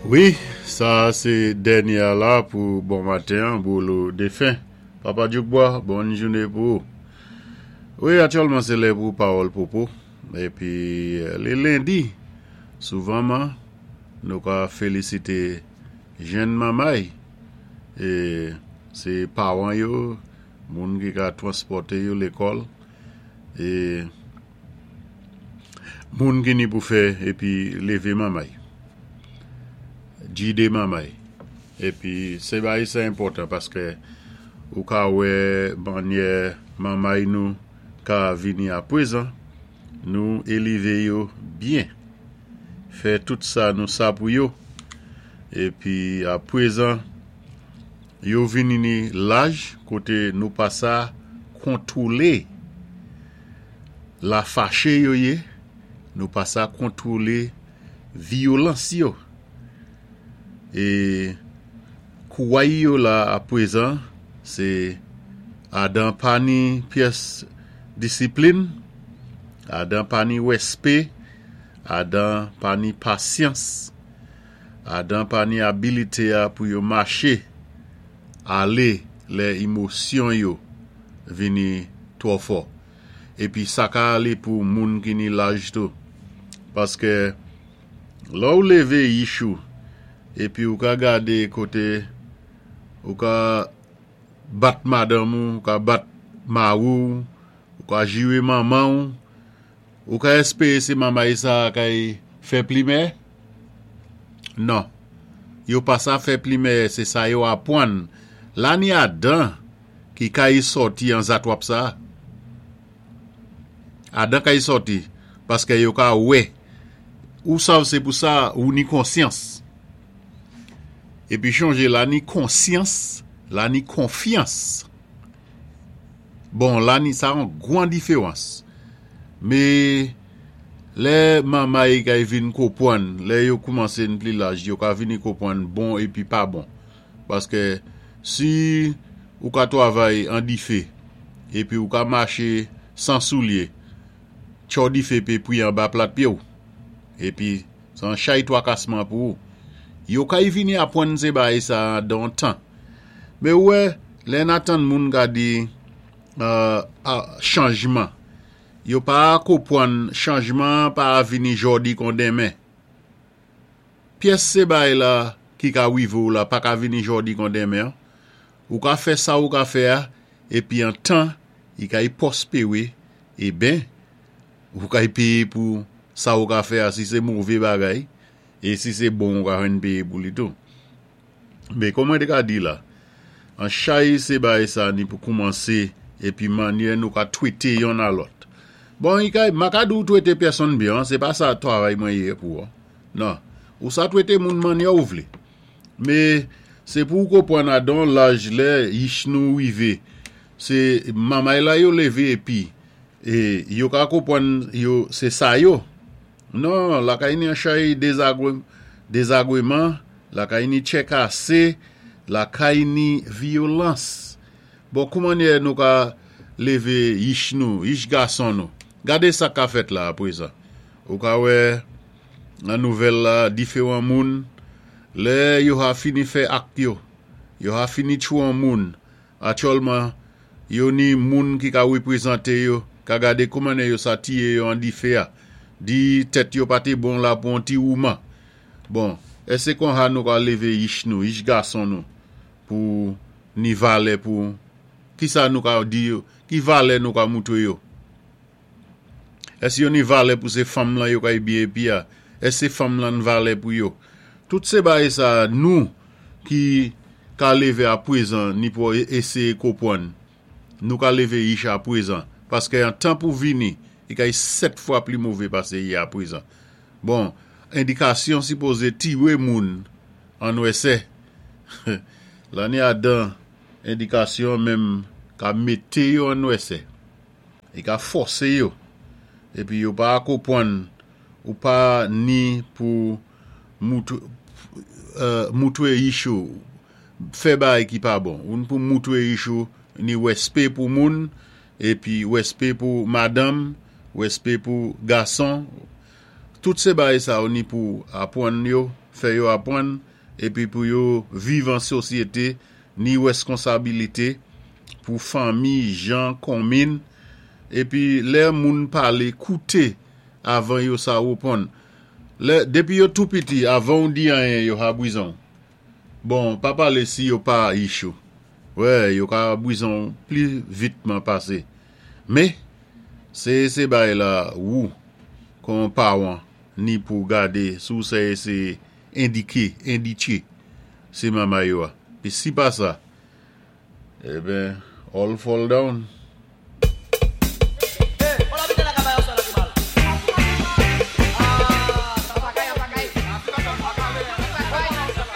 Wi, sa a sé dènyé a la pou bon maten an, Bolo defen. Papa Djoukbwa, bòn jouné pou ou. Wi, aktyèlman sé lè pou pawòl popo. Épi li lendi, souvanman nou ka félisité jenn manmay é sé pawan yo, moun ki ka twanspòté yo lékòl é Moun ki ni pou fè épi lévé manmay. Gidé manmay. Épi sé bagay sa enpòtan paskè ou ka wè mannyè manmay nou ka vini apwezan nou élivé yo byen. Fè tout sa nou sa pou yo. Épi apwezan yo vini ni laj koté nou pa sa kontwolé. La fache yo ye, nou pa sa kontwole vyolans yo. E kouway yo la apwezan se Adan pa ni pyès disiplin, Adan pa ni wèspé, Adan pa ni pasyans, Adan pa ni abilite a pou yo mache ale lè imosyon yo vini twò fò. Epi sa ka ale pou moun ki ni laj tou. Paske lè ou leve yich ou epi ou ka gade kote ou ka bat madanm ou, ou ka bat mari ou, ou ka jire manman ou, ou ka espere se manmay sa a kay fè plimè? Non. Yo pa sa fè plimè se sa yo apwann. La ni Adan ki kay sòti an zatwap sa a. Adan kay sòti paske yo ka wè. Ou sav se pou sa ou ni konsyans. Epi chonje la ni konsyans, la ni konfyans. Bon la ni sa yon gwan diferans. Me lè manmay kay vin kopwann, lè yo koumanse n pli laj, yo ka vini kopwann bon epi pa bon. Paske si ou ka twavay an dife epi ou ka mache san soulye, tcho dife pe pwi anba plat pye w. Epi se yon chay twakasman pou ou. Yo kay vini apwann se bagay sa a dan yon tan. Men ou wè, lè n atann moun ka di chanjman, yo pa kopwann chanjman an pa vini jòdi kon denmen. Pyès se bay la ki ka rive w la pa ka vini jòdi kon denmen an. Ou ka fè sa ou ka fè a, epi an tan i ka y pwospere, eben, ou ka y peye pou sa ou ka fè a si se move bagay, e si se bon ou ka jwenn peye pou li tou. Men kòm mwen te ka di la, an chay se bagay sa ni pou koumanse epi manyè nou ka twete yonn a lòt. Bon, i ka, ma ka di w twete pèsonn byen, se pa sa travay mwen ye pou ou. Nan, ou sa twete moun manyè ou vle. Me, se pou ou konprann a don laj lè yich nou rive, se mamay la yo leve epi, e yo ka konprann yo se sa yo. Non, lakay ni an chay dezagre, dezagreman, lakay ni tchè kase, lakay ni vyolans. Bon, kouman nou ka leve yich nou, yich gason nou? Gade sa ka fèt la aprezan. Ou ka wè nan nouvèl la diferan moun lè yo ha fini fè ak yo, yo ha fini tchwon moun, atyòlman yo ni moun ki ka reprezante yo ka gade kouman yo sa tiye yo an dife a, di tèt yo pa te bon la pou on ti wouman. Bon, èske kon ha nou ka leve yich nou, yich gason nou pou ni valè pou kisa nou ka di yo, ki valè nou ka moutre yo? Èske yo ni valè pou se fanm lan yo kay byen epi a? Èske se fanm lan n valè pou yo? Tout se bagay sa a nou ki ka leve apwezan ni pou eseye kopwann. Nou ka leve yich apwezan. Paske an tan pou vini, i kay 7 fwa pli move pase i apwezan. Bon, endikasyon sipoze tiwe moun an nwèsè. Lane adan endikasyon menm ka mete yo an nwèsè. Li ka fòse yo. Epi yo pa konpwann ou pa ni pou moutre yich ou fè bagay ki pa bon. Ou ni pou moutre yich ou ni wèspe pou moun epi wèspe pou madanm, wèspe pou gason. Tout sé bagay sa yo ni pou apwann yo, fè yo apwann, épi pou yo viv an sosyété, ni wèskonsabilité pou fanmi, jan, konminn, épi lè moun palé kouté avan yo sa wouponn. Lè, dépi yo tou piti, avan ou di anyen yo ha bwizon. Bon, pa palé si yo pa ichou. Wè, yo ka bwizon pli vitman pasé. Mé, sé sé bagay la wou, kon pawan, ni pou gadé si ou sè sé endiké, enditché, sé mamay yo a. Pi si pa sa, eben, all fall down.